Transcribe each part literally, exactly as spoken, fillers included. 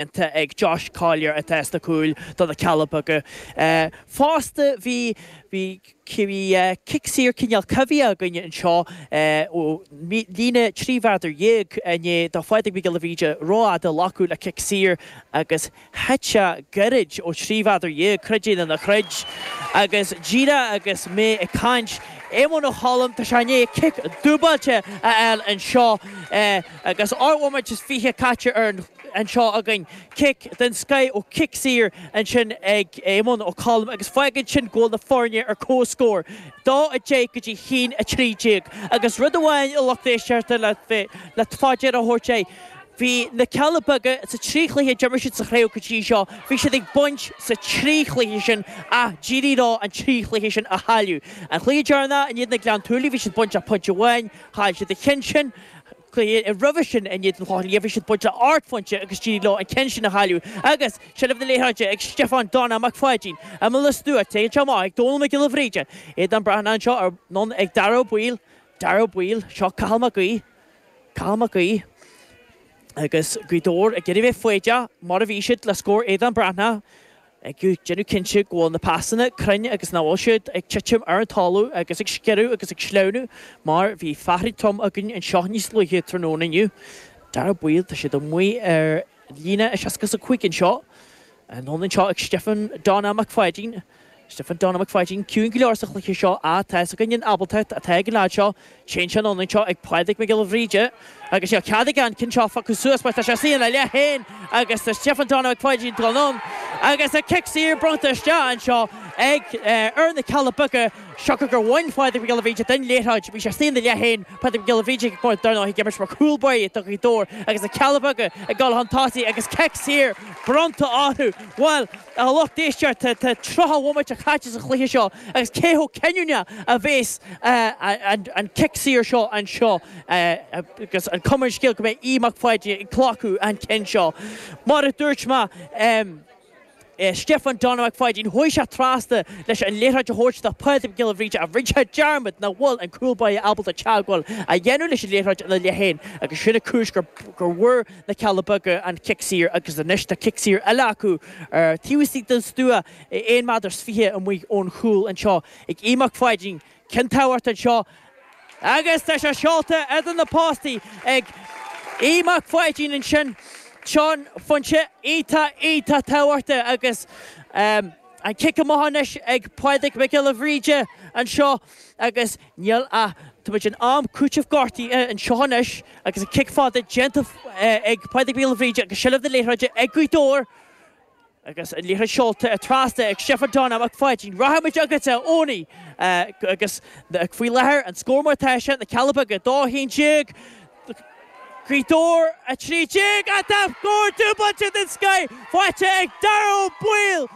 Ag Josh Collier atá sna cúil do na Cealla Beaga. Fosta bhí bhí bhí cic saor cineál coimhthíoch againne anseo ó líne trí mhéadar dhéag inné do Phádraig Mac Giolla Bhríde rófhada a ghlacadh le cic saor agus thit sé gairid ó trí mhéadar dhéag, creid é nó ná creid. Agus díreach agus mé ag caint, Éamonn Ó Colm, tá sé i ndiaidh cic dúbailte a fháil anseo agus ocht mbomaite is fiche caite ar an anseo againn. Cic den scoith ó chic saor ansin ag Éamonn Ó Colm agus fágann sin go bhfuil na foirne ar comhscór, dó a deich go dtí haon a trí déag. Agus rud amháin a lucht éisteachta le le fá deara a thabhairt é, bhí na Cealla Beaga sa trí chluiche a d'imir siad sa chraobh go dtí seo, bhí siad ag baint sa trí chluiche sin ach d'éirigh leo an trí chluiche sin a chailleadh. An cluiche deireanach in éadan na Gleann tSúilí bhí siad baint ach pointe amháin, chaill siad an ceann sin. Cluiche roimhe sin in éadan Chlochán Liath bhí siad baint le ocht phointe agus d'éirigh leo an ceann sin a chailleadh agus seilbh na liathróide ag Stiofán Donna Mac Pháidín imeall an stua. Téann sé amach ag Dónal Mac Giolla Bhríde. Aodán Breathnach anseo anonn ag Dara Ó Baoill. Dara Ó Baoill. Seo Cathal Mac Aoidh. Cathal Mac Aoidh agus Gaoth Dobhair ag iarraidh bheith foighdeach mar a bhí siad le scór Aodán Breathnach. Ag déanamh cinnte go bhfuil na pasanna cruinn agus nach bhfuil siad ag titim ar an talamh agus ag sciorradh agus ag sleamhnú mar bhí fearthainn trom againn anseo níos luaithe tráthnóna inniu. Dara Baoill, tá siad amuigh ar líne a seasca is a cúig anseo. Anonn anseo ag Stiofán Donna Mac Pháidín. Stiofán Donna Mac Pháidín ciúin go leor sa chluiche seo ach tá fhios againn an ábaltacht atá ag an leaid seo. Téann sé anonn anseo ag Pádraig Mac Giolla Bhríde agus níl cead aige an ceann seo a phiocadh suas mar tá sé istigh ina leath féin agus tá Stiofán Donna Mac Pháidín ag dul anonn agus an cic saor bronnta isteach anseo ag ar na Cealla Beaga siocair gur bhain Pádraig Mac Giolla Bhríde den liathróid. Bhí sé istigh ina leath féin, Pádraig Mac Giolla Bhríde ag dar ndóigh ag imirt mar chúl báire do Ghaoth Dobhair agus na Cealla Beaga ag dul chun tosaigh agus cic saor bronnta orthu. Bhuel, a lucht éisteachta, tá tríocha bhomaite caite sa chluiche seo agus cé chomh cinniúnach a bhéas an cic saor seo anseo agus an cuma ar an scéal go mbeidh Aodh Mac Pháidín ag glacadh an cinn seo. Mar a dúirt mé, Stiofán Donna Mac Pháidín, chuaigh sé trasna leis an liathróid a thabhairt do Phádraig Mac Giolla Bhríde ach rinne sé dearmad nach bhfuil an cúl báire ábalta teagmháil a dhéanamh leis an liathróid ina leath féin agus sin an cúis gur bhfuair na Cealla Beaga an cic saor agus anois tá cic saor eile acu ar taobh istigh den stua aon méadar is fiche amuigh ón chúl anseo ag Aodh Mac Pháidín. Ceann tábhachtach anseo agus tá sé seolta idir na postaí ag Aodh Mac Pháidín ansin. Seo pointe iontach iontach tábhachtach agus an cic amach anois ag Pádraig Mac Giolla Bhríde anseo agus níl ach, tá muid in am cúiteamh gortaithe anseo anois agus an cic fada déanta ag Pádraig Mac Giolla Bhríde agus seilbh na liathróide ag Gaoth Dobhair agus an liathróid seolta trasna ag Stiofán Donna Mac Pháidín. Rachaimid chugat a Owenie agus faoi láthair an scór mar atá sé, na Cealla Beaga dó a haon déag, Gaoth Dobhair a trí déag ach tá scór dúbailte den scoith faighte ag Dara Ó Baoill!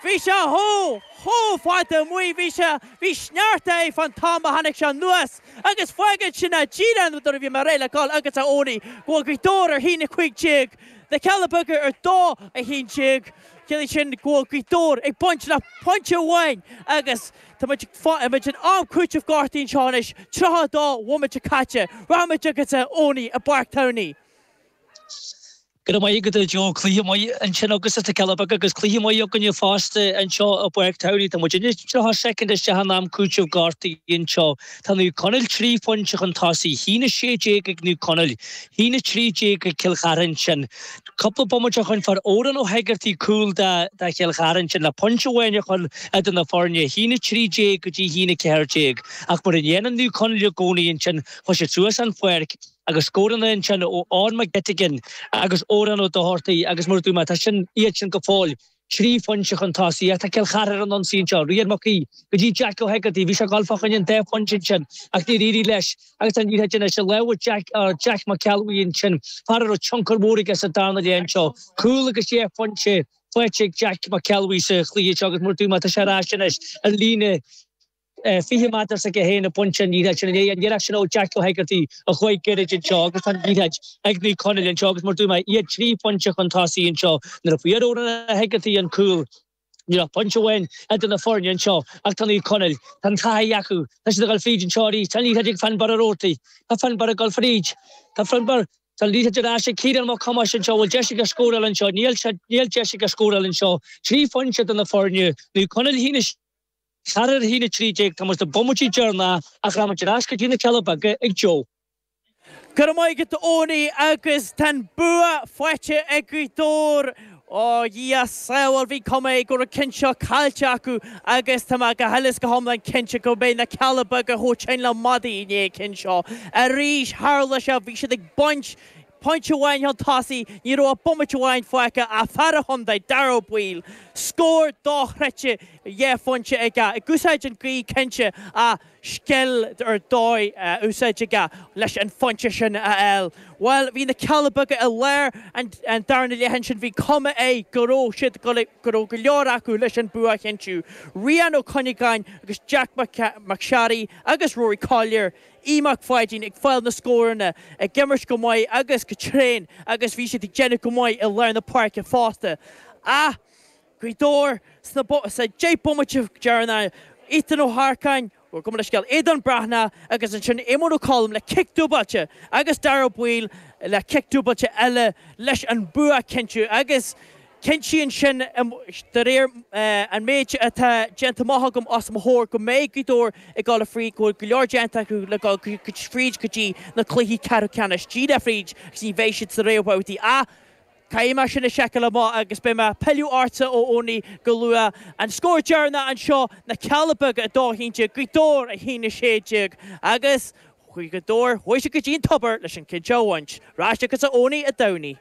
Bhí sé chomh, chomh fada amuigh, bhí sé, bhí sneachta air fán t-am a tháinig sé anuas agus fágann sin é díreach nuair a bhí mé réidh le dhul chugat a Owenie go bhfuil Gaoth Dobhair ar haon a cúig déag, na Cealla Beaga ar dó a haon déag. Ciallaíonn sin go bhfuil Gaoth Dobhair ag baint le pointe amháin agus tá muid muid in am cúiteamh gortaithe anseo anois, tríocha a dó bhomaite caite. Rachaimid chugat a Owenie i bPáirc Towney. Go raibh maith agat a Joe. Cluiche maith ansin agat sna Cealla Beaga agus cluiche maith againne fosta anseo i bPáirc Towney. Tá muid anois tríocha soicind isteach in am cúiteamh gortaithe anseo. Tá Naomh Conaill trí phointe chun tosaigh, haon a sé déag ag Naomh Conaill, haon a trí déag ag Cill Chartha ansin. Cúpla bomaite ó shoin fuair Odhrán Ó hEigeartaigh cúl do Chill Chartha ansin le pointe amháin a chur idir na foirne, haon a trí déag go dtí haon a ceathair déag. Ach mar a dhéanann Naomh Conaill i gcónaí ansin, chuaigh siad suas an pháirc agus scóranna ansin ó Eoin McGettigan agus Odhrán Ó Dochartaigh agus mar a dúirt mé, tá sin, iad sin go fóill trí phointe chun tosaigh ach tá Cill Chartha ar an ionsaí anseo. Rian Mac Aoidh go dtí Jack Ó hEigeartaigh. Bhí sé ag dul fá choinne an dá phointe ansin ach níor éirigh leis agus tá an liathróid anois i lámha Jack, Jack Mac Ceallbhuí ansin, fear a raibh tionchar mhór aige sa darna leath anseo. Cúl agus deich phointe faighte ag Jack Mac Ceallbhuí sa chluiche seo agus mar a dúirt mé tá sé ar ais anois ar líne fiche méadar s'aige féin ag baint an liathróid sin i ndiaidh an iarracht sin ó Jack Ó hEigeartaigh a chuaigh gairid anseo agus tá an liathróid ag Naomh Conaill anseo agus mar a dúirt mé iad trí phointe chun tosaigh anseo nuair a fuair Odhrán Ó hEigeartaigh an cúl. Ní raibh pointe amháin idir na foirne anseo ach tá Naomh Conaill, tá an taithí acu, tá siad ag dul fríd anseo arís, tá an liathróid ag Finbarr Ó Roarty, tá Finbarr ag dul fríd, tá Finbarr. Tá an liathróid ar ais ag Ciarán Mac Thomáis anseo, bhfuil deis aige scóráil anseo? Níl níl deis aige scóráil anseo. Trí phointe do na foirne, Naomh Conaill a haon a ceathair a haon a trí déag, tá muid sna bomaití deireanacha ach rachaimid ar ais go dtí na Cealla Beaga ag Joe. Go raibh maith agat a Eoiní agus tá an bua faighte ag Gaoth Dobhair. Ó Dhia sábháil, bhí cuma air go raibh an ceann seo caillte acu agus tá mé go huile is go hiomlán cinnte go mbeidh na Cealla Beaga chomh tinn le madaí i ndiaidh an chinn seo. Arís, tharla sé, bhí siad ag baint pointe amháin chun tosaigh, ní raibh ach bomaite amháin fágtha ach fear an chontae, Darragh Ó Baoill, scór dochreidte dhá phointe aige, ag úsáid an ghaoth cinnte ach scil ar dóigh a úsáid aige leis an phointe sin a fháil. Bhuel, bhí na Cealla Beaga i lár an darna leath ansin, bhí cuma air go raibh siad, go raibh go leor acu leis an bua a chinntiú. Rian Ó Cuinneagáin agus Jack McSharry agus Rory Collier, Aodh Mac Pháidín ag fáil na scóranna, ag imirt go maith agus go tréan agus bhí siad ag déanamh go maith i lár na páirce fosta. Ach Gaoth Dobhair sna sa deich bomaite deireanach, Ethan Ó hEarcáin, gabh mo leithscéal, Aodán Breathnach agus ansin Éamonn Ó Colm le cic dúbailte agus Darragh Ó Baoill le cic dúbailte eile leis an bua a chinntiú agus Cinntíonn sin, de réir an méid atá déanta amach agam os mo chomhair, go mbeidh Gaoth Dobhair ag dul fríd, go bhfuil go leor déanta acu le dul fríd go dtí na cluichí ceathrú ceannais, díreach fríd agus ní bheidh siad sa réamhbhabhtaí. Ach caithfidh mé sin a sheiceáil amach agus beidh mé ag pilleadh ortsa, a Eoiní, go luath. An scór deireanach anseo, Na Cealla Beaga a dó a haon déag, Gaoth Dobhair a haon a sé déag agus chuaigh Gaoth Dobhair, chuaigh siad go dtí an tobar leis an ceann seo a bhaint. Ar ais chugatsa a Eoiní a Domhnaigh.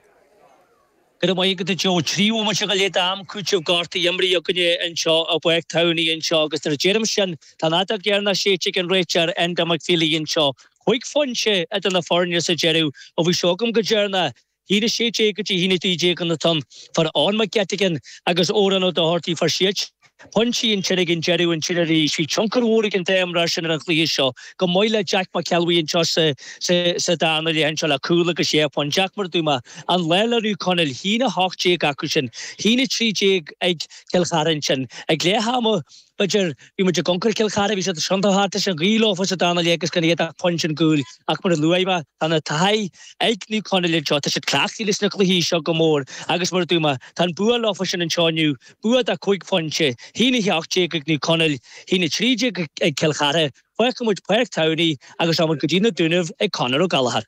Go raibh maith agat a Joe. Trí bhomaite go leith d'am cúitimh gortaithe imrithe againne anseo i bPáirc Towney anseo agus nuair a deirim sin, tá an fheadóg dheireanach séidte ag an réiteoir Enda McFeely anseo. Cúig phointe idir na foirne sa deireadh ó bhí seo agam go deireanach. haon a sé déag go dtí haon a trí déag an t-am. Fuair Eoin McGettigan agus Odhrán Ó Dochartaigh fuair siad pointí ansin ag an deireadh ansin arís. Bhí tionchar mhór ag an dá imreoir sin ar an chluiche seo. Go maith le Jack McElwee anseo sa sa darna leath anseo le cúl agus sé phointe. Jack mar a dúirt mé, an lá le Naomh Conaill, haon a hocht déag acu sin, haon a trí déag ag Cill Chartha ansin. Ag leath ama, b'fhéidir, bhí muid ag amharc ar Cill Chartha, bhí siad tiontach thart leis an ghaoth leofa sa darna leath agus gan iad ach pointe ón gcúl. Ach mar a luaigh mé, tá na taithí ag Naomh Conaill anseo, tá siad cleachtaithe leis na cluichí seo go mór agus mar a dúirt mé, tá an bua leofa sin anseo inniu, bua de chúig phointe, haon a hocht déag ag Naomh Conaill, haon a trí déag ag Cill Chartha. Fágfaidh muid Páirc Towney agus rachaidh muid go dtí na Dúnaibh ag Conor Ó Gallchóir.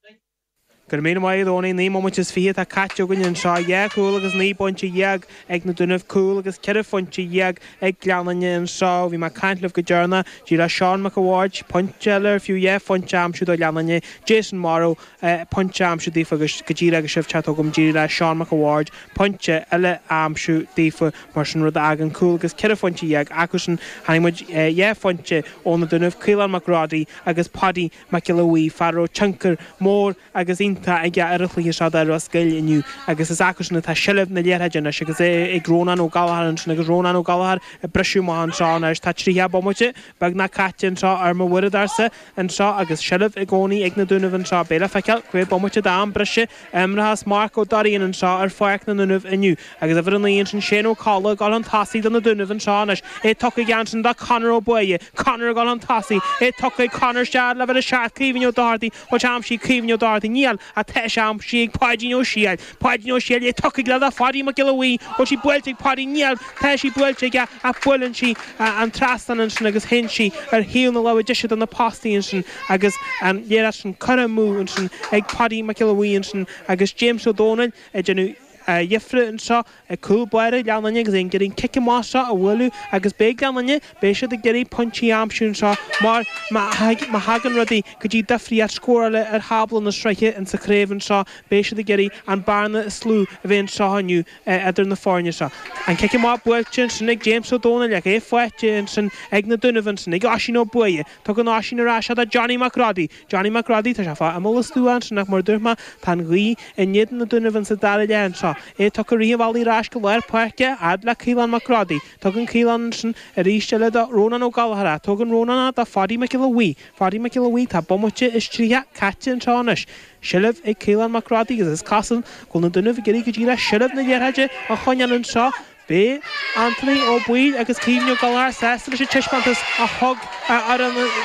Go raibh míle maith agat a Eoiní, naoi mbomaite is fiche atá caite againn anseo, dhá chúl agus naoi bpointe dhéag ag na Dúnaibh, cúl agus ceithre phointe dhéag ag Gleann Fhinne anseo. Bhí mé ag caint libh go deireanach, d'éirigh le Seán Mac a' Bhaird pointe eile ar fiú dhá phointe a aimsiú do Ghleann Fhinne, Jason Morrow pointe a aimsiú daofa agus go díreach agus sibh ag teacht chugam d'éirigh le Seán Mac a' Bhaird pointe eile a aimsiú daofa mar sin rud a fhágann cúl agus ceithre phointe dhéag acusan. Chonaic muid dhá phointe ó na Dúnaibh, Caolán Mac Rodaí agus Paudie Mac Giolla Bhuí, fear a raibh tionchar mór agus iontach aige ar an chluiche seo do Ros Goill inniu agus is acusan atá seilbh na liathróide anois agus é ag Rónán Ó Gallchóir ansin agus Rónán Ó Gallchóir ag briseadh amach anseo anois. Tá tríocha bomaite beagnach caite anseo ar mo uaireadóirsa anseo agus seilbh i gcónaí ag na Dúnaibh anseo. Beidh le feiceáil cé mhéad bomaite d'am breise a imreochas Marc Ó Doirín anseo ar pháirc na nDúnaibh inniu agus uimhir a naoi ansin Shane Ó Colla ag dul chun tosaigh do na Dúnaibh anseo anois. É tugtha aige ansin do Conor Ó Buaidhe. Conor ag dul chun tosaigh. É tugtha ag Conor isteach le uimhir a seacht Caoimhín Ó Dochartaigh. Bhfuil sé aimsithe ag Caoimhín Ó Dochartaigh? Níl, ach tá sé aimsithe ag Páidín Ó Siail. Páidín Ó Siail, é tugtha aige le Pháidí Mac Giolla Bhuí. Bhfuil sí buailte ag Páidí? Níl, tá sí buailte aige ach buaileann sí an trasnán ansin agus théann sí ar thaobh na láimhe deise de na postaí ansin agus an liathróid sin curtha amú ansin ag Páidí Mac Giolla Bhuí ansin agus James Ó Dónaill ag déanamh difir anseo ag cúl báire Ghleann Fhinne agus é ag iarraidh an cic amach seo a bhualadh agus beidh Gleann Fhinne, beidh siad ag iarraidh pointí a aimsiú anseo mar má thagann rudaí go dtí difríocht scórála ar thábla na sraithe insa chraobh anseo, beidh siad ag iarraidh an bearna is lú a bheith anseo inniu idir na foirne seo. An cic amach buailte ansin ag James Ó Dónaill ach é faighte ansin ag na Dúnaibh ansin ag Oisín Ó Buaidhe. Tugann Oisín ar ais é do Johnny Mac Rodaí. Johnny Mac Rodaí, tá sé fá imeall an stua ansin ach mar a dúirt mé, tá an ghaoth in éadan na Dúnaibh insa dara leath anseo. É tugtha rith an bhealaigh ar ais go lár páirce, fhad le Caolán Mac Rodaí. Tugann Caolán ansin arís eile do Rónán Ó Gallchóir. Tugann Rónán é do Pháidí Mac Giolla Bhuí. Pháidí Mac Giolla Bhuí, tá bomaite is tríocha caite anseo anois. Seilbh ag Caolán Mac Rodaí agus is cosúil go bhfuil na Dúnaibh ag iarraidh go díreach seilbh na liathróide a choinneáil anseo. Beidh Anthony Ó Baoill agus Caoimhín Ó Gallchóir sásta leis an taispeántas a thug a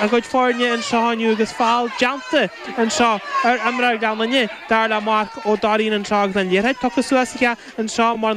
a gcuid foirne anseo inniu agus feall déanta anseo ar imreoir Ghleann Fhinne dar le Marc Ó Dairín anseo agus an liathróid tugtha suas aige anseo mar na